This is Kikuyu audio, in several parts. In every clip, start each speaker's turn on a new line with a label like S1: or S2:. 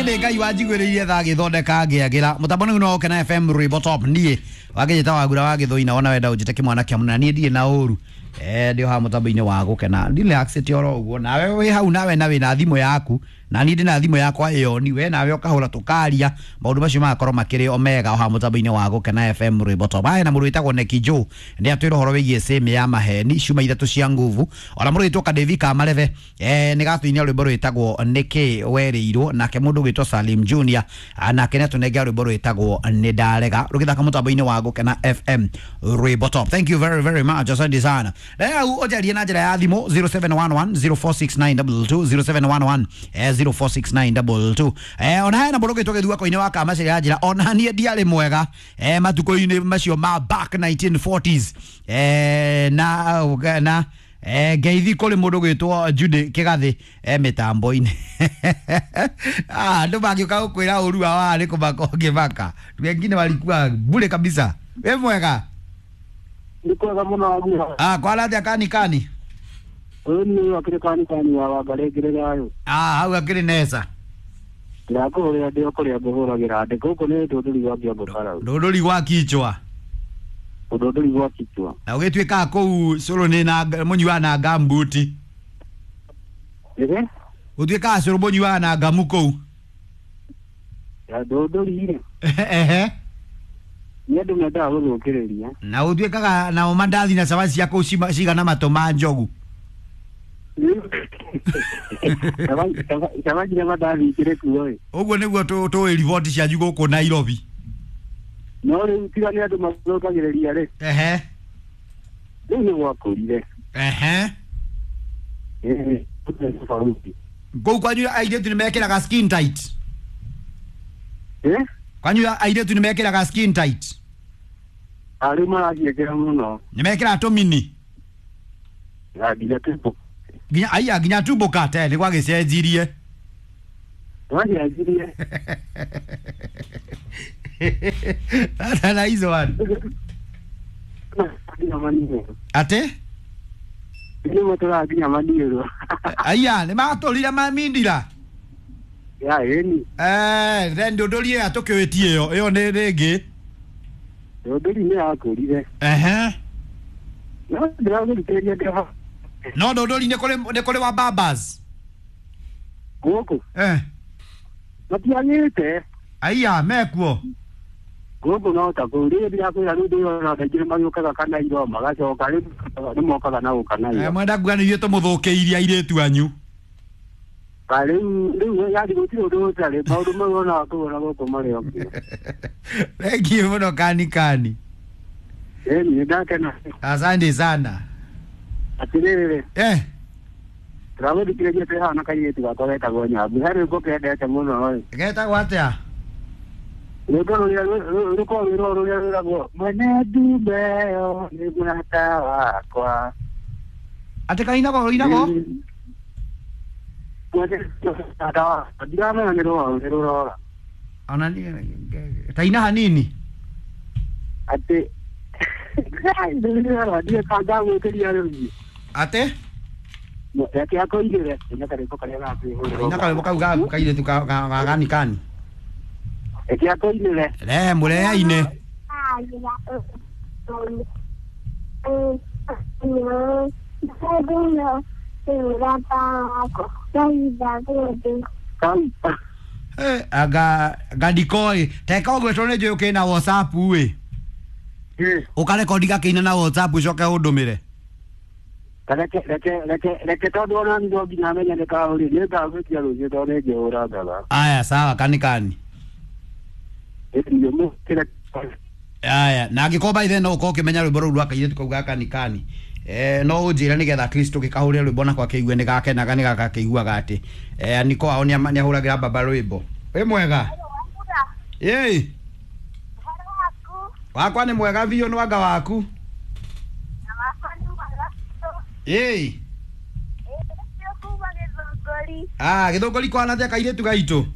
S1: Niĩ nĩ Ngai wanjiguĩrĩirie tha agĩthondeka ngĩagĩra mũtambo nĩ no Gũkena FM rwĩmbo top. Niĩ wangĩnjĩta Wagura wa Gĩthũi, wona wenda ũnjĩte kĩmwana kĩa mũnene, niĩ ndirĩ na ũru. Ndĩ o haha mũtambo-inĩ wa Gũkena, relaxĩte oro ũguo. Nawe wĩ hau, nawe na wĩna thimũ yaku, na niĩ ndĩna thimũ yakwa ĩyo, ni we nawe ũkahũra tũkaria, maũndũ macio magakorwo makĩrĩ o mega o haha mũtambo-inĩ wa Gũkena FM rwĩmbo top. Haya, na mũndũ wĩtagwo Neki Joe nĩ atwĩra ũhoro wĩgiĩ sĩmĩ ya maheni cuma ithatũ cia nguvu. Ona mũndũ wĩtwo Kadevi Kamarebe nĩ gatũinia rwĩmbo rwĩtagwo Nĩkĩ Werĩirwo. Nake mũndũ wĩtwo Salim Junior nake nĩ atũnengera rwĩmbo rwĩtagwo Nĩ Ndarega, rũgĩthaka mũtambo-inĩ wa Gũkena FM rwĩmbo top. Thank you very very much, asante sana. Rĩu ũnjarie na njĩra ya thimũ 0711 046922, 0711 046922. Ona hena mũndũ ũgĩtwo gĩthua-inĩ wa Kamacĩrĩ ya njĩra, ona niĩ ndiarĩ mwega matukũ-inĩ macio ma back 1940s. Na ngeithi kũrĩ mũndũ gwĩtwo Judy Kĩgathĩ mĩtambo-inĩ. Andũ mangĩũka gũkwĩra ũru wa warĩ kũmaka ũngĩmaka, wengine walikuwa bure kabisa. Wĩ mwega?
S2: Nĩ kwega mũno, Wagura.
S1: Kwara atĩa kani kani?
S2: Ũyũ nĩ akĩrĩ kani kani wa Wangarĩ thayũ.
S1: Hau akĩrĩ nesa.
S2: Ndĩrakũhũrĩra ndĩ o kũrĩa ngũhũragĩra, ndĩ gũkũ nĩ ndũndũri gwa Kĩongo Karau.
S1: Ndũndũri gwa kichwa.
S2: Ũndũndũri gwa kichwa.
S1: Na ũgĩtuĩkaga kũu cũrũ nĩ na mũnyuaga na ngambuti?
S2: Ĩĩ.
S1: Ũtuĩkaga cũrũ mũnyuaga na ngamu kũu?
S2: Ya ndũndũri rĩ.
S1: Ehe.
S2: Nĩ andũ mendaga gũthũkĩrĩria.
S1: Na ũtuĩkaga nao mandathi na cabaci cia kũu cigana matũ ma njogu?
S2: Cabaci na mandathi ikĩrĩ kuo ĩ.
S1: Ũguo nĩguo tũĩ riboti cianyu gũkũ Nairobi.
S2: No rĩu tiga nĩ andũ mathũkagĩrĩria rĩ.
S1: Ehe.
S2: Rĩu nĩ gwakũrire.
S1: Ehe.
S2: Ĩĩ, tofauti.
S1: Kũu kwanyu airĩtu nĩ mekĩraga skin tight?
S2: Ĩ?
S1: Kwanyu airĩtu nĩ mekĩraga skin tight?
S2: Arĩ maraciĩkĩra mũno.
S1: Nĩ mekĩraga tũmini?
S2: Ya nginya tumbo.
S1: Nginya aiya, nginya tumbo kate nĩ gwagĩcenjirie.
S2: Gwacenjirie.
S1: Na hizo wani
S2: Nginya maniũrũ.
S1: Atĩ?
S2: Nĩ matũraga nginya maniũrũ.
S1: Aiya, nĩ matũrire mamindira.
S2: Ya ĩni.
S1: Then ndũndũri ĩyo tũkĩwĩtie ĩyo ĩyo nĩ rĩngĩ.
S2: Ndũndũri nĩ yakũrire.
S1: Ehe.
S2: No ndĩragũthikĩrĩria ndĩ haha.
S1: No ndũndũri nĩ kũrĩ wa babas?
S2: Gũkũ.
S1: Eh.
S2: Matiagĩte.
S1: Aiya, mekuo.
S2: Gũkũ no ta kũu rĩrĩ ndĩrakwĩra, rĩu ndĩrona andũ aingĩ nĩ magĩũkaga Kanairo, magacoka rĩu nĩ mokaga na gũka Nairo.
S1: Mwenda kuga nĩ ithuĩ tũmũthũkĩirie airĩtu anyu.
S2: Ba rĩu yani gũtirĩ ũndũ ũtarĩ, maũndũ mau ona kũu ona gũkũ marĩ okuo.
S1: Thank you mũno kani kani.
S2: Ĩni, nĩ ndakena.
S1: Asante sana.
S2: Atĩrĩrĩ.
S1: Eh.
S2: Tũragũthikĩrĩria twĩ haha na kairĩtu gakwa getagwo Nyambu, he rwĩmbo kendete mũno ĩ.
S1: Getagwo atĩa?
S2: Rwĩmbo rũrĩa rũkoragwo rwĩ rũrĩa rwĩragwo mwene ndume ĩyo nĩ mũrata wakwa.
S1: Atĩ kainagwo rũinagwo?
S2: Mwene mũrata wakwa, ndiramenya nĩ rwaũ, nĩ rũrora.
S1: Ona niĩ taina hanini.
S2: Atĩ ndiĩ kangagwĩkĩria rĩu.
S1: Atĩ?
S2: Reke akũigĩre ina karĩko karĩa gakwĩhũrĩrwo.
S1: Ina karwĩmbo kau ga kairĩtu ga gani kani.
S2: Reke akũinĩre.
S1: Rehe mũrehe-inĩ.
S2: Kau.
S1: Anga ngandikoi teka ũguo tondũ nĩ njũĩ ũkĩna WhatsApp ĩ.
S2: Ĩ.
S1: Ũkarekondi gakĩina na WhatsApp ũcoke ũndũmĩre.
S2: Reke reke reke reke, tondũ ona no nginya menye nĩ kahũri, nĩ ngagwĩtia rũciũ tondũ nĩ ngĩhũra ngatha.
S1: Aya, sawa kani kani.
S2: Ĩĩ, mũkĩre.
S1: Aya, na angĩkorwo by then no ũkorwo ũkĩmenya rwĩmbo rũu rwa kairĩtu kau ga kani kani, no ũnjĩre nĩgetha at least tũgĩkahũrĩre rwĩmbo nako akĩigue nĩ gakenaga nĩ gakakĩiguaga atĩ aniko ao nĩ ahũragĩra baba rwĩmbo. Wĩ mwega? Ĩĩ. Wakwa nĩ mwega biũ, nĩ wanga waku? Ĩĩ. Gĩthũngũri kwana atĩa kairĩtu gaitũ?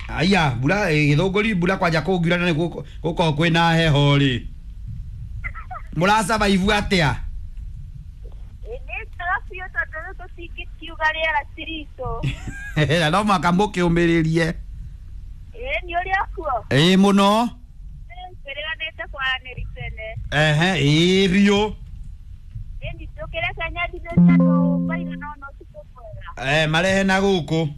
S1: Aya, mbura gĩthũngũri, mbura kwanja kũngiura na nĩ gũkorwo kwĩna heho rĩ, mũrasurvive atĩa?
S3: Nĩ njega biũ tondũ rĩu tũtingĩkiuma. Tũkiuga rĩera ti ritũ.
S1: Na no mũhaka mũkĩũmĩrĩrie.
S3: Ĩĩ nĩ ũrĩa kuo.
S1: Ĩĩ mũno.
S3: Twĩrĩganĩte kwaranĩri tene.
S1: Ehe, ĩĩ biũ.
S3: Ĩĩ tũkĩreke nyendithĩrie andũ maigana ũna ũtukũ mwega.
S1: Eh, marehe na gũkũ.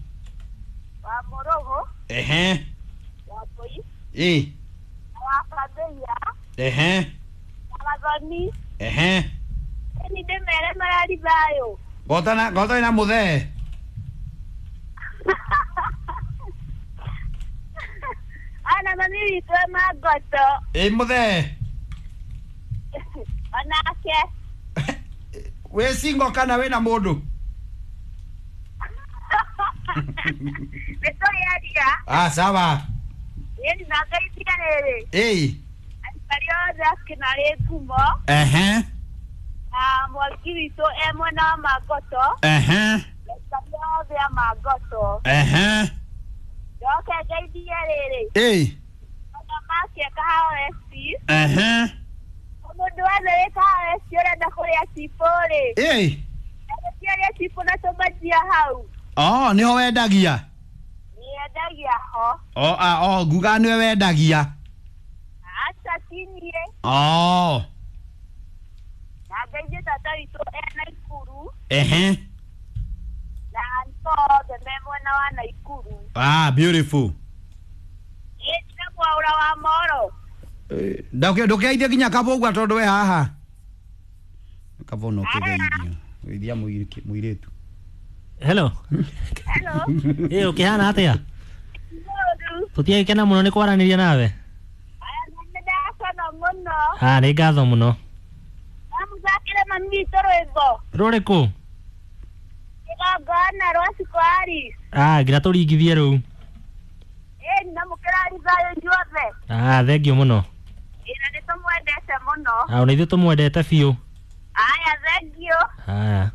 S3: Wa Mũrũgũ,
S1: Ehe.
S3: wa Mbũi,
S1: Ĩĩ.
S3: na wa Kathĩia,
S1: Ehe.
S3: na Gathoni.
S1: Ehe.
S3: Ĩĩ ndĩmere marari thayũ.
S1: Gotana gotana na mũthee.
S3: Ana mami witũ e Mangoto.
S1: Ĩĩ mũthee.
S3: Onake.
S1: Wĩ single kana wĩna mũndũ?
S3: Nĩ tũrĩaria.
S1: Ah, sawa.
S3: Ĩĩ na ngeithia rĩrĩ.
S1: Ĩĩ.
S3: Aikari othe akĩnarĩ ngumo.
S1: Ehe.
S3: Na mwangi witũ e mwena wa Mangoto.
S1: Ehe.
S3: Aikari othe a Mangoto.
S1: Ehe.
S3: Ndoke ngeithie rĩrĩ.
S1: Ĩĩ.
S3: Mũthamaki e Kahawa FC.
S1: Ehe.
S3: Mũndũ wothe wĩ Kahawa FC ũrenda kũrĩa chipũ rĩ.
S1: Ĩĩ.
S3: Agĩthiĩ chipũ na tũmanjia hau.
S1: Oh, nĩho wendagia?
S3: Nĩendagia ho.
S1: Oh, ah, oh, nguga nĩwe wendagia.
S3: Aca ti niĩ.
S1: Oh.
S3: Na ngeithie tata witũ e Naikuru.
S1: Ehe.
S3: Na anto othe me mwena wa Naikuru.
S1: Ah, beautiful.
S3: Ĩĩ na mwaũra wa Moro.
S1: Ndũkĩgeithie nginya kabũgua tondũ we haha. Kabũ no kĩgeithio. Geithia mũirĩtu.
S4: Hello.
S3: Hello.
S4: Ĩ ũkĩhana atĩa?
S3: Mũru.
S4: Tũtiagĩkena mũno nĩ kwaranĩria nawe.
S3: Aya nĩ ndakena mũno.
S4: Ah, nĩ ngatho mũno.
S3: Amũthakĩre mami witũ rwĩmbo.
S4: Rũrĩkũ?
S3: Kĩgongona rwa Sukari.
S4: Ah, nginya tũringithie rũu.
S3: Ĩĩ na mũkĩrari thayũ inyuothe.
S4: Ah, thengio mũno.
S3: Ĩĩ na nĩ tũmwendete mũno.
S4: Ah, ona ithuĩ tũmwendete biũ.
S3: Aya thengio.
S4: Haya.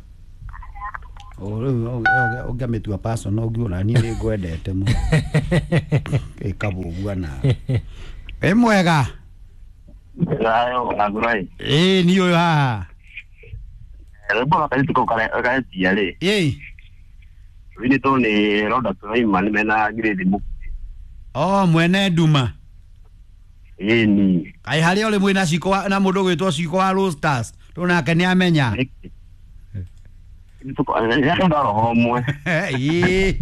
S1: Rĩu ũngĩamĩtua personal ũngiuga niĩ nĩ ngwendete mũno. Ĩkabũgua nawe. Ĩ mwega.
S2: Thayũ Wagura.
S1: Ĩĩ niĩ ũyũ haha.
S2: Rwĩmbo rwa kairĩtu kau karetia rĩ.
S1: Ĩĩ.
S2: Rũinĩtwo nĩ Robert Waima nĩ mena Grace Mũkuĩ.
S1: Oh, mwene nduma.
S2: Ĩni.
S1: Kaĩ harĩa ũrĩ mwĩna ciko na mũndũ ũgwĩtwo ciko wa Roasters. Tondũ nake nĩ amenya.
S2: Nĩ roho ũmwe.
S1: Ĩĩ.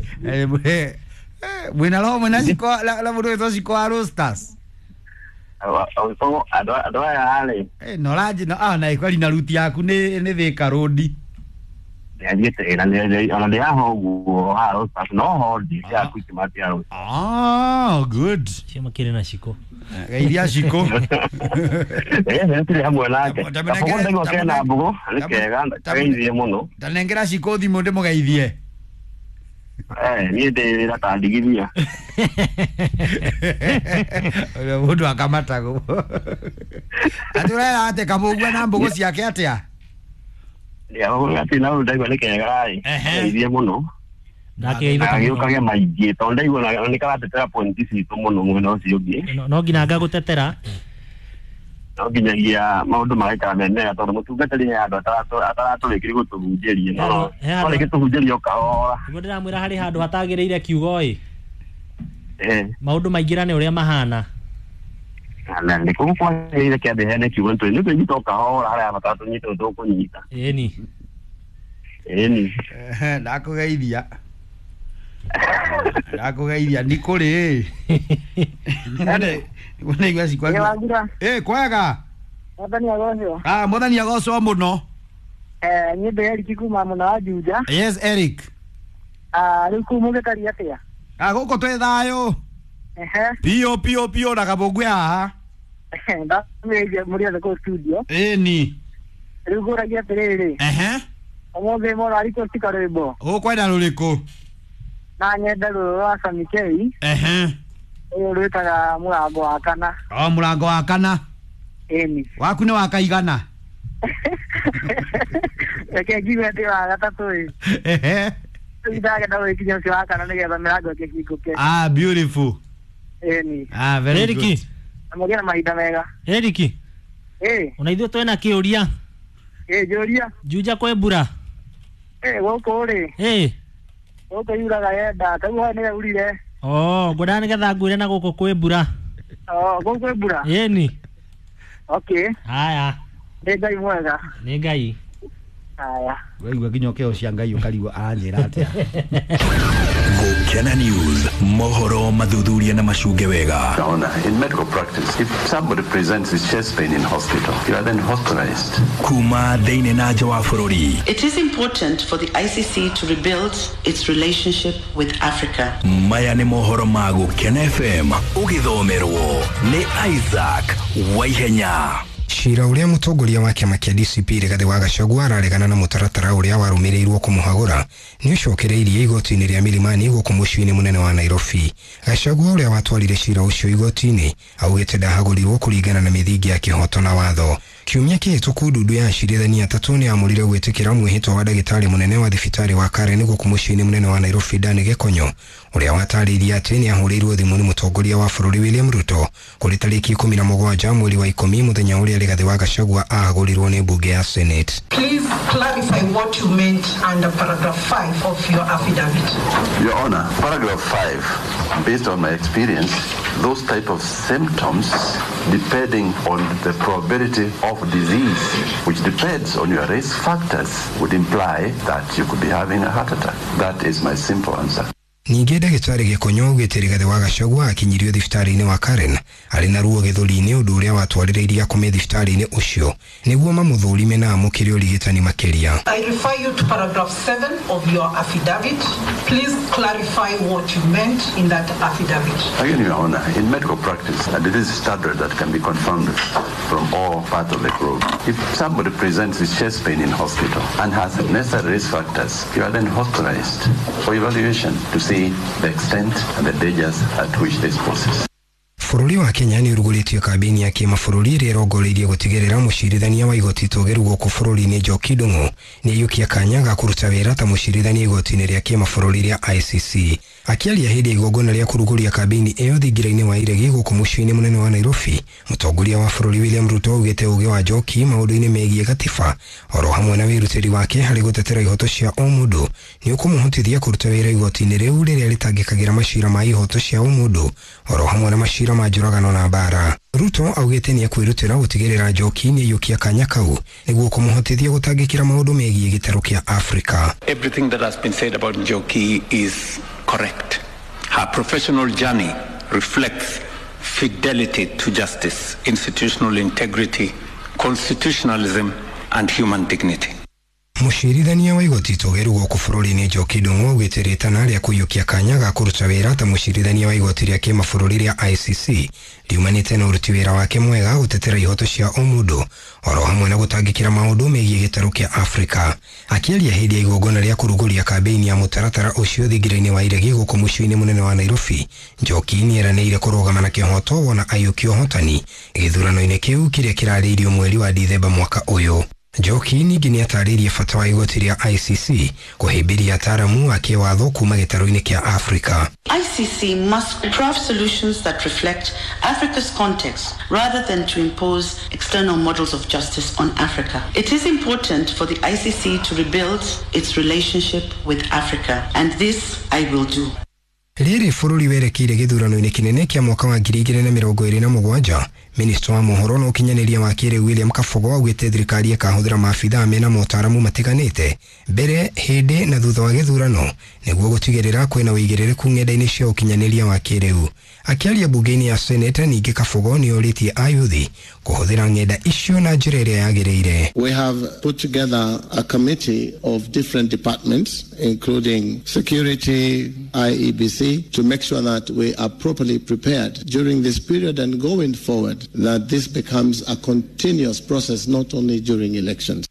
S1: Mwĩna roho mwĩna ciko na mũndũ ũgwĩtwo ciko wa Roasters.
S2: Andũ aya rĩ.
S1: No ranji no ah na ikwari na ruti yaku nĩ Thika Road.
S2: Nĩathiĩte ona ndĩ haha ũguo haha Roasters no ho ndĩ yaku ikĩmatia Roasters.
S1: Ah, good.
S4: Cio makĩrĩ na ciko.
S1: Geithia ciko.
S2: Ĩĩ tũrĩ hamwe nake. Kabũgũ ndaigua kena mbũgũ nĩ kega kageithie mũno.
S1: Ndanengera ciko thimũ ndĩmũgeithie.
S2: Niĩ ndĩ wĩra ta ndigithia.
S1: Ũrĩa mũndũ akamatagwo. Atĩ ũrera atĩ kabũgua na mbũgũ ciake atĩa?
S2: Atĩ na ndaigua nĩ kega rĩ. Geithie mũno. Ndakĩgeithĩka maingĩ tondũ ndaigua nĩ karatetera pointi citũ mũno mwena ũcio ũngĩ.
S4: No nginya ngagũtetera.
S2: No nginyagia maũndũ magaikara me mega tondũ mũtungatĩri he handũ ataratũrĩkĩria gũtũhunjĩria. No rĩngĩ tũhunjĩrio kahora.
S4: Nĩguo ndĩramwĩra harĩ handũ hatagĩrĩire kiugo ĩ. Maũndũ maingĩra nĩ ũrĩa mahana.
S2: Na nĩ kũu kwagĩrĩire kĩambe heane kiugo nĩ tũnyita o kahora harĩa batara tũnyite tũkũnyita.
S4: Ĩni.
S2: Ĩni.
S1: Ndakũgeithia. Ndakũgeithia nĩ kũrĩ. Nĩigua cikwa. Ĩ kwega.
S5: Mwathani agocwo.
S1: Ah, mwathani agocwo mũno.
S5: Niĩ ndĩ Eric kuma mwena wa Juja.
S1: Yes, Eric.
S5: Ah, rĩu kũu mũgĩkaria atĩa?
S1: Ah, gũkũ twĩ thayũ.
S5: Ehe.
S1: Piũ piũ piũ na kabũngwe haha.
S5: Ndamĩgeithia mũrĩ othe kũu studio.
S1: Ĩni.
S5: Rĩu ngũragia atĩrĩrĩ.
S1: Ehe.
S5: Ũmũthĩ mũra request karwĩmbo.
S1: Ũkwenda rũrĩkũ?
S5: Na nyende rũrũ rwa Sami K.
S1: Ehe.
S5: Ũyũ rwĩtaga mũrango wa kana.
S1: Oh, mũrango wa kana.
S5: Ĩni.
S1: Waku nĩ wa kaigana?
S5: Reke njigue atĩ wa gatatũ ĩ.
S1: Ehe.
S5: Rĩu ndagenda gũgĩkinya ũcio wa kana nĩgetha mĩrango ĩkĩhingũke.
S1: Ah, beautiful.
S5: Ĩni.
S1: Ah, very
S4: Eric.
S1: good.
S5: Na mũgĩe na mahinda mega.
S4: Eric.
S5: Ĩ.
S4: Ona ithuĩ twĩna kĩũria.
S5: Ĩ njũria.
S4: Juja kwĩ mbura?
S5: Gũkũ rĩ. Gũkũ yuraga yenda, taguo nĩ yaurire.
S4: Oh, ngwendaga nĩgetha ngwĩre na gũkũ kwĩ mbura.
S5: Oh, gũkũ kwĩ mbura?
S4: Ĩni.
S5: Okay.
S4: Haya.
S5: Nĩ Ngai mwega.
S4: Nĩ Ngai.
S5: Haya.
S1: Waigua nginya ũkĩo cia Ngai ũkarigwo aranjĩra atĩa.
S6: Gũkena News, mohoro mathuthuria na macunge wega.
S7: Naona, in medical practice, if somebody presents with chest pain in hospital, you are then hospitalized.
S6: Kuma thĩinĩ na nja wa bũrũri.
S8: It is important for the ICC to rebuild its relationship with Africa.
S6: Maya nĩ mohoro ma Gũkena FM, ũgĩthomerwo nĩ Isaac Waihenya.
S9: Cira ũrĩa mũtongoria wa kĩama kĩa DCP Rigathĩ wa Gachagua araregana na mũtaratara ũrĩa warũmĩrĩirwo kũmũhagũra nĩ ũcokereirie igoti-inĩ rĩa Milimani gũkũ mũciĩ-inĩ mũnene wa Nairobi. Gachagua ũrĩa watwarire cira ũcio igoti-inĩ augĩte ndahagũrirwo kũringana na mĩthingi ya kĩhoto na watho. Kiumia kĩhĩtũku ndundu ya acirithania atatũ nĩ amũrire gwĩtĩkĩra mwĩhĩtwa wa ndagĩtarĩ mũnene wa thibitarĩ wa Karen gũkũ mũciĩ-inĩ mũnene wa Nairobi Dan Gĩkonyo ũrĩa watarĩirie atĩ nĩ ahũrĩirwo thimũ nĩ mũtongoria wa bũrũri William Ruto kũrĩ tarĩki 17 mweri wa 10 mũthenya ũrĩa Rigathĩ wa Gachagua ahagũrirwo nĩ mbunge ya Senate.
S10: Please clarify what you meant under paragraph 5 of your affidavit.
S7: Your Honor, paragraph 5, based on my experience, those type of symptoms depending on the probability of disease, which depends on your risk factors, would imply that you could be having a heart attack. That is my simple answer.
S9: Ningĩ ndagĩtarĩ Gĩkonyo augĩte Rigathĩ wa Gachagua akinyirio thibitarĩ-inĩ wa Karen arĩ na ruo gĩthũri-inĩ ũndũ ũrĩa watwarĩrĩirie akome thibitarĩ-inĩ ũcio nĩguo mamũthũrime na amũkĩre ũrigitani makĩria.
S10: I refer you to paragraph 7 of your affidavit. Please clarify what you meant in that affidavit.
S7: Again, Your Honor, in medical practice, and it is standard that can be confirmed from all parts of the globe. If somebody presents with chest pain in hospital and has necessary risk factors, you are then hospitalized for evaluation to see the extent and the dangers at which this poses.
S9: Bũrũri wa Kenya nĩ ũrugũrĩtie kambĩini ya kĩmabũrũri ĩrĩa ĩrongoreirie gũtigĩrĩra mũcirithania wa igoti tũgĩru gũkũ bũrũri-inĩ Njoki Ndung'u nĩ aiyũkia kanya ga kũruta wĩra ta mũcirithania igoti-inĩ rĩa kĩmabũrũri rĩa ICC. Akĩaria hĩndĩ ya igongona rĩa kũrugũria kambĩini ĩyo thingira-inĩ wa Iregi gũkũ mũciĩ-inĩ mũnene wa Nairobi, mũtongoria wa bũrũri William Ruto augĩte ũgĩ wa Njoki maũndũ-inĩ megiĩ gatiba oro hamwe na wĩrutĩri wake harĩ gũtetera ihoto cia ũmũndũ nĩ ũkũmũhotithia kũruta wĩra igoti-inĩ rĩu rĩrĩa rĩtangĩkagĩra macira ma ihoto cia ũmũndũ oro hamwe na macira ma njũragano na mbara. Ruto augĩte nĩ ekwĩrutĩra gũtigĩrĩra Njoki nĩ aiyũkia kanya kau nĩguo kũmũhotithia gũtangĩkĩra maũndũ megiĩ gĩtarũ kĩa Afrika.
S11: Everything that has been said about Njoki is correct. Her professional journey reflects fidelity to justice, institutional integrity, constitutionalism and human dignity.
S9: Mũcirithania wa igoti tũgĩru gũkũ bũrũri-inĩ Njoki Ndung'u augĩte rĩtana rĩa kũiyũkia kanya ga kũruta wĩra ta mũcirithania wa igoti rĩa kĩmabũrũri rĩa ICC riumanĩte na ũruti wĩra wake mwega gũtetera ihoto cia ũmũndũ oro hamwe na gũtangĩkĩra maũndũ megiĩ gĩtarũ kĩa Afrika. Akĩaria hĩndĩ ya igongona rĩa kũrugũria kambĩini ya mũtaratara ũcio thingira-inĩ wa Iregi gũkũ mũciĩ-inĩ mũnene wa Nairobi, Njoki nĩeranĩire kũrũgama na kĩhoto wona aiyũkia ũhotani gĩthurano-inĩ kĩu kĩrĩa kĩrarĩirio mweri wa Dithemba mwaka ũyũ. Njoki ningĩ nĩatarĩirie bata wa igoti rĩa ICC kũhĩmbĩria ataaramu a kĩwatho kuma gĩtarũ-inĩ kĩa Afrika.
S8: ICC must craft solutions that reflect Africa's context rather than to impose external models of justice on Africa. It is important for the ICC to rebuild its relationship with Africa, and this I will do.
S9: Rĩrĩ bũrũri werekeire gĩthurano-inĩ kĩnene kĩa mwaka wa 2027, Minista wa mohoro na ũkinyanĩria wa kĩrĩu William Kabogo augĩte thirikari ĩkahũthĩra maabithaa mena motaramu matiganĩte mbere, hĩndĩ na thutha wa gĩthurano nĩguo gũtigĩrĩra kwĩna ũigĩrĩrĩku ng'enda-inĩ cia ũkinyanĩria wa kĩrĩu. Akĩaria bunge-inĩ ya Senate, ningĩ Kabogo nĩorĩtie ayuthi kũhũthĩra ng'enda icio na njĩra ĩrĩa yagĩrĩire.
S12: We have put together a committee of different departments including security, IEBC, to make sure that we are properly prepared during this period and going forward, that this becomes a continuous process, not only during elections.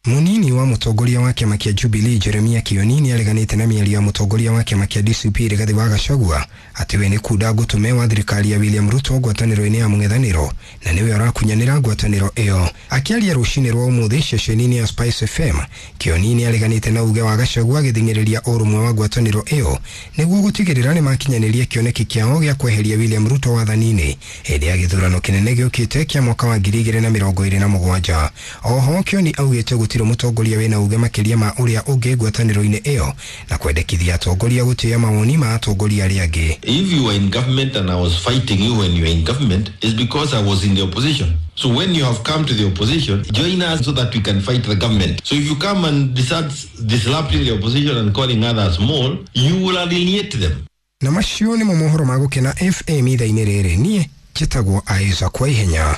S9: Munini wa mũtongoria wa kĩama kĩa Jubilee Jeremia Kioni nĩareganĩte na mĩario ya mũtongoria wa kĩama kĩa DCP Rigathi wa Gachagua atĩ we nĩ kunda ngũtũme wa thirikari ya William Ruto ngwatanĩro-inĩ ya mũng'ethanĩro na nĩwe ũrakunyanĩra ngwatanĩro ĩyo. Akĩaria rũcinĩ rwa ũmũthĩ ceceni-inĩ ya Spice FM, Kioni nĩareganĩte na uge wa Gachagua agĩthing'ĩrĩria ũrũmwe wa ngwatanĩro ĩyo nĩguo gũtigĩrĩra nĩmakinyanĩria kĩoneki kĩao gĩa kweheria William Ruto wathani-inĩ hĩndĩ ya gĩthurano kĩnene gĩũkĩte kĩa mwaka wa 2027. Oho Kioni augĩte Gũtirĩ mũtongoria wĩna uge makĩria ma ũrĩa ũngĩ ngwatanĩro-inĩ ĩyo, na kwendekithia atongoria gũtĩĩa mawoni ma atongoria arĩa angĩ.
S13: If you were in government and I was fighting you when you were in government, it's because I was in the opposition. So when you have come to the opposition, join us so that we can fight the government. So if you come and start disrupting the opposition and calling others small, you will alienate them.
S9: Na macio nĩmo mohoro ma Gũkena FM ithaa-inĩ rĩrĩ. Niĩ njĩtagwo Isaac Waihenya.